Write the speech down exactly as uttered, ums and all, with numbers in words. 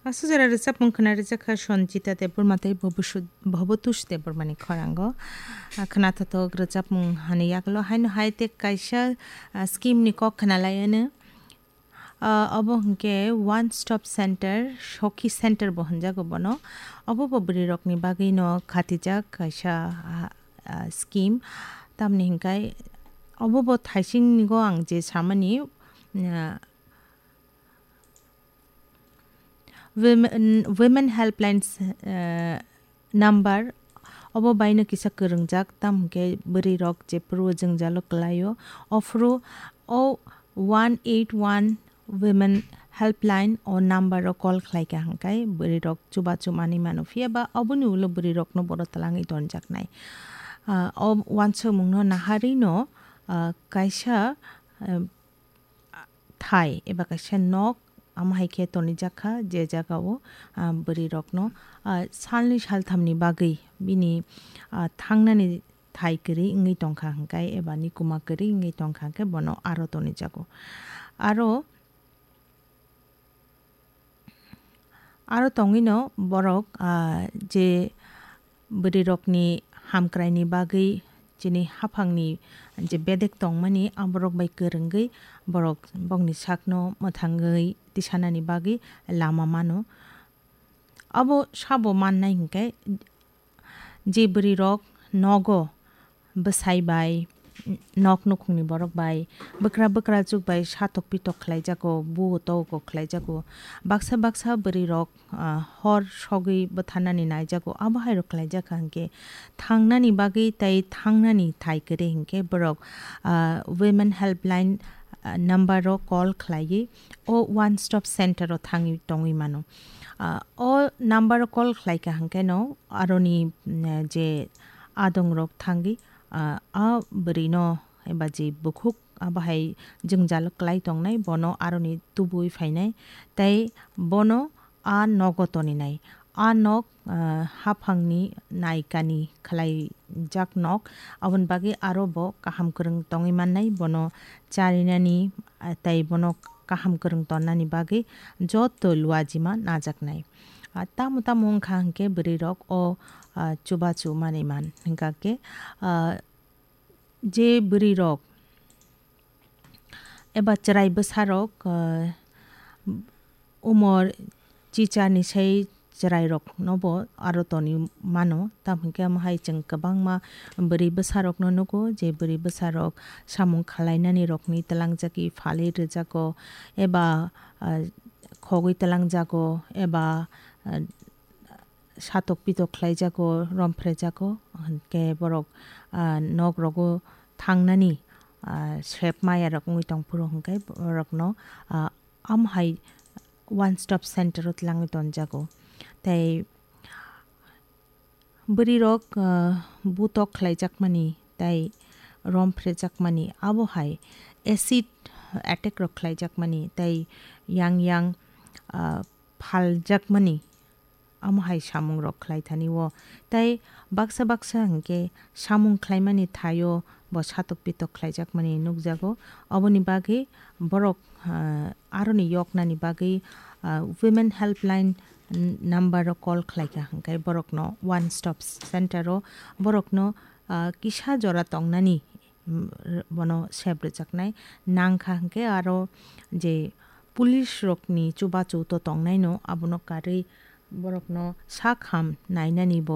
Aswk jora rwchapmung khwna rwjakha Sanjita Debbarma tei Bhabushu-, Bhabatosh Debbarmani khorango. Ah, khwnathothok rwchapmung hani yagulo haino hai tei kaisa, ah, scheme ni kok khwnalaiano. Ah, obo hwnkhe One Stop Center, Sokhi Center bo hwnjago bono. Obo bo bwrwirokni bagwino khatijak kaisa, ah, ah, scheme. Tamni hwnkhe obo bo thaisingnigo ang je samani, ah, Women, Women Helplines, eh, number obo baino kisa kwrwngjak, tamo hwnkhe bwrwirok jephuru jwngjalo kwlaio, ophuru o one eight one Women Helpline o number o call khlaikha hwnkhe bwrwirok chubachu manwi mano, phiya ba oboni ulo bwrwirokno boro twlangwi tonjaknai. Ah, o wansukmungno naharwino, ah, kaisa, eh, thai eba kaisa nok, amo hai khe tonijak kha, je jagao, ah, bwrwirokno, ah, salnwi salthamni bagwi bini, ah, thangnani thai kwrwi wngwi tongkha hwnkhe eba nikuma kwrwi wngwi tongkha hwnkhe bono aro tonijago. Aro Aro tongwino borok, ah, je bwrwirokni hamkraini bagwi chini haphangni je bedek tongmani, aborok bai kwrwngwi borok bokni sakno mwthangwi tisanani bagwi lama mano. Abo sabo mannai hinkhe, je bwrwirok nogo bwsai bai, nok nukhungni borok bai, bwkra bwkrachuk bai satok pitok khlaijago, buo togo khlaijago. Baksa baksa bwrwirok, ah, hor sogwi bwtharnani naijago, abo hairok khlaijak kha hinkhe thangnani bagwi tei thangnani thai kwrwi hinkhe borok, ah, Women Helpline, ah, number o call khlaiwi o One Stop Center o thangwi tongwi mano. Ah, o number o call khlaikha hwnkhe no aroni, mm, je adongrok thangwi, ah, a bwrwino eba je bukhuk abo hai jwngjal kwlai tongnai, bono aroni tubui phainai tei bono a nogo toninai. A nok, ah, haphangni naikani khlaijak nok, aboni bagwi aro bo kaham kwrwng tongwi mannai, bono charinani, ah, tei bono kaham kwrwng tonnani bagwi joto luajima najaknai. Ah, tamo tamo wngkha hinkhe bwrwirok o, ah, chubachu manwi man hinkha khe, ah, je bwrwirok eba chwrai bwsarok, ah, umor chicharni sai chwrairokno bo aro toni mano, tamo hinkhe omo hai chwng kwbangma bwrwi bwsarokno nugo, je bwrwi bwsarok samung khwlainani rokni twlangjagwi phalwi rwjago eba, ah, khogwi twlangjago eba, ah, satok pitok khlaijago, romphrejago, hinkhe borok, ah, nok rogo thangnani, ah, sep maya rok wngwi tongphuru hinkhe borokno, ah, amo hai One Stop Center o twlangwi tonjago. Tei bwrwirok, ah, butok khlaijakmani tei romphrejakmani, abo hai acid attack rok khlaijakmani tei yang yang, ah, phaljakmani, amo hai samungrok khlai thani o. Tei baksa baksa hinkhe samung khlaimani thaio bo satok pitok khlaijakmani nukjago. Oboni bagwi borok, ah, aroni yoknani bagwi, ah, Women Helpline n-, number o call khlaikha hinkhe borokno One Stop Center o borokno, ah, kisa jora tongnani, mm, r-, bono sep rwjaknai nangkha hinkhe aro je police rokni chubachu to tongnaino abono karwi borokno sak ham nainani bo